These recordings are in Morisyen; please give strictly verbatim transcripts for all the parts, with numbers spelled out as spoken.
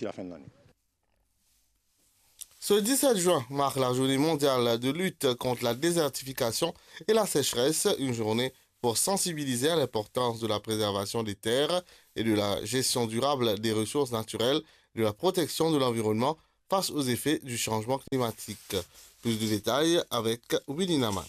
d'ici la fin de l'année. Ce dix-sept juin marque la journée mondiale de lutte contre la désertification et la sécheresse, une journée pour sensibiliser à l'importance de la préservation des terres et de la gestion durable des ressources naturelles, de la protection de l'environnement face aux effets du changement climatique. Plus de détails avec Willy Naman.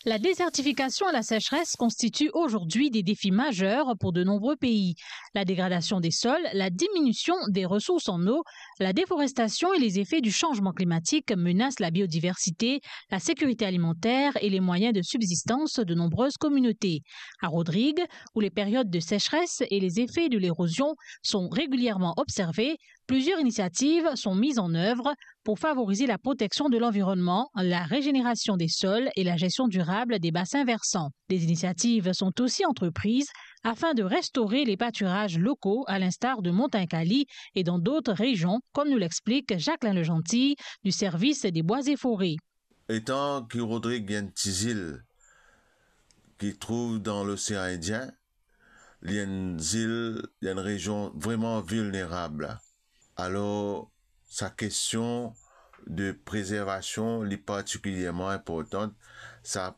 La désertification et la sécheresse constituent aujourd'hui des défis majeurs pour de nombreux pays. La dégradation des sols, la diminution des ressources en eau, la déforestation et les effets du changement climatique menacent la biodiversité, la sécurité alimentaire et les moyens de subsistance de nombreuses communautés. À Rodrigues, où les périodes de sécheresse et les effets de l'érosion sont régulièrement observés, plusieurs initiatives sont mises en œuvre pour favoriser la protection de l'environnement, la régénération des sols et la gestion durable des bassins versants. Des initiatives sont aussi entreprises afin de restaurer les pâturages locaux, à l'instar de Montagne Kali et dans d'autres régions, comme nous l'explique Jacqueline Legentil du service des bois et forêts. Etan ki Rodrig li enn ti zil ki trouv dan Losean Indien, li enn zil, li enn rezion vreman vilnerab. Alor, sa kestion de prezervasion, li partikilierman inportan. Sa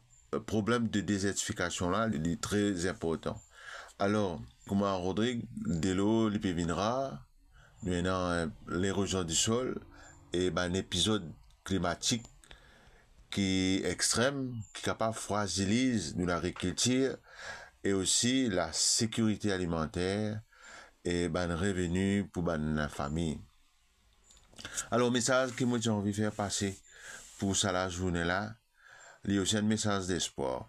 problem de dezertifikasion la, li, li tre inportan. Alor, kouma Rodrig, delo, li pe vinn rar, nou ena, eh, lerozion di sol e bann epizod klimatik ki extrem, ki kapav fraziliz nou lagrikiltir e osi lasekirite alimanter e bann reveni pou bann lafami. Alor, mesaz ki mo ti anvi fer pase pou sa lazourne la, li osi enn mesaz despwar.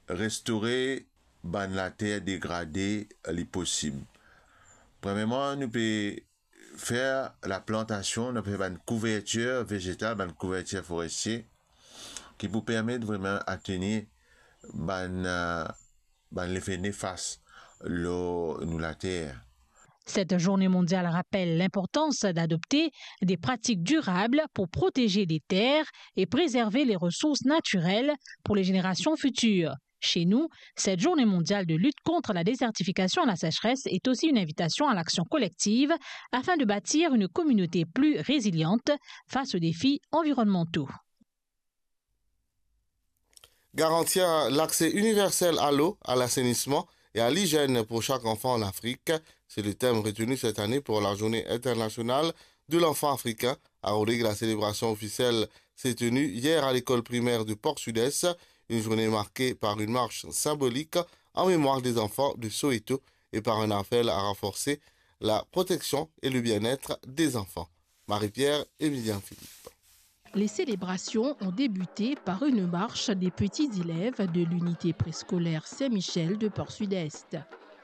Restore bann later degrade, li posib. Premierman, nou pe fer laplantasion, nou pe fer bann kouvertir vezetal, bann kouvertir forestie, ki pou permet vreman atenir bann, eh, bann lefe nefas lor nou later. Cette journée mondiale rappelle l'importance d'adopter des pratiques durables pour protéger les terres et préserver les ressources naturelles pour les générations futures. Chez nous, cette journée mondiale de lutte contre la désertification et la sécheresse est aussi une invitation à l'action collective afin de bâtir une communauté plus résiliente face aux défis environnementaux. Garantir l'accès universel à l'eau, à l'assainissement et à l'hygiène pour chaque enfant en Afrique, c'est le thème retenu cette année pour la Journée internationale de l'enfant africain. À Rodrigues, la célébration officielle s'est tenue hier à l'école primaire de Port-Sud-Est, une journée marquée par une marche symbolique en mémoire des enfants de Soweto et par un appel à renforcer la protection et le bien-être des enfants. Marie-Pierre, Emilien Philippe. Les célébrations ont débuté par une marche des petits élèves de l'unité préscolaire Saint-Michel de Port-Sud-Est.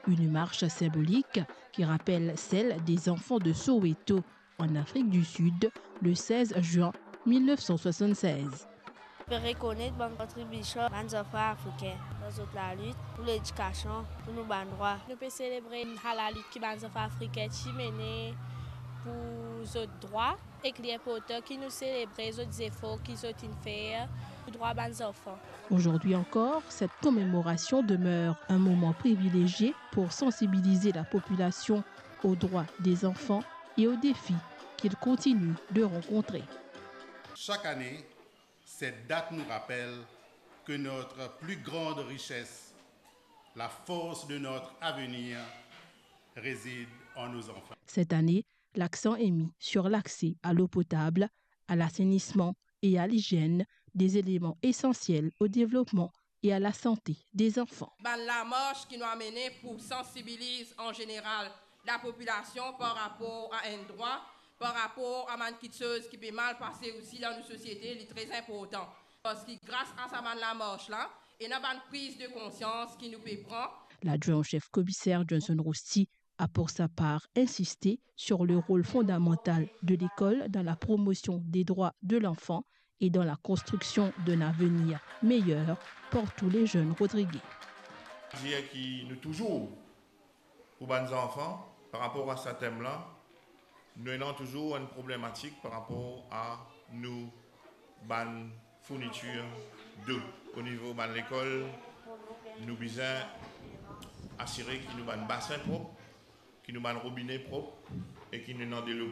Une marche symbolique qui rappelle celle des enfants de Soweto, en Afrique du Sud, le seize juin mille neuf cent soixante-seize. Pe rekonet bann kontribision bann zanfan afrikin dan zot lalit pou ledikasion, pou nou bann drwa. Nou pe selebre sa lalit ki bann zanfan afrikin ti mene pou zot drwa, ek li inportan ki nou selebre zot zefor ki zot inn fer pou drwa bann zanfan. Aujourd'hui encore, cette commémoration demeure un moment privilégié pour sensibiliser la population aux droits des enfants et aux défis qu'ils continuent de rencontrer. Chaque année, cette date nous rappelle que notre plus grande richesse, la force de notre avenir, réside en nos enfants. Cette année, l'accent est mis sur l'accès à l'eau potable, à l'assainissement et à l'hygiène, des éléments essentiels au développement et à la santé des enfants. Bann lamars ki nou amene pou sansibiliz an zeneral lapopilasion par rapor a enn drwa, par rapor a bann kiksoz ki pe mal pase osi dan nou sosiete, li tre inportan. Parski gras a sa bann lamars la, ena bann priz de konsians ki nou pe pran. L'adjoint au chef commissaire Johnson Rosti a pour sa part insisté sur le rôle fondamental de l'école dans la promotion des droits de l'enfant et dans la construction d'un avenir meilleur pour tous les jeunes Rodriguais. Dir ki nou touzour pou bann zanfan, par rapor a sa tem la, nou ena touzour enn problematik par rapor a nou bann fournitir dlo. O nivo bann lekol, nou bizin asire ki nou bann basin prop, ki nou bann robine prop e ki nou ena delo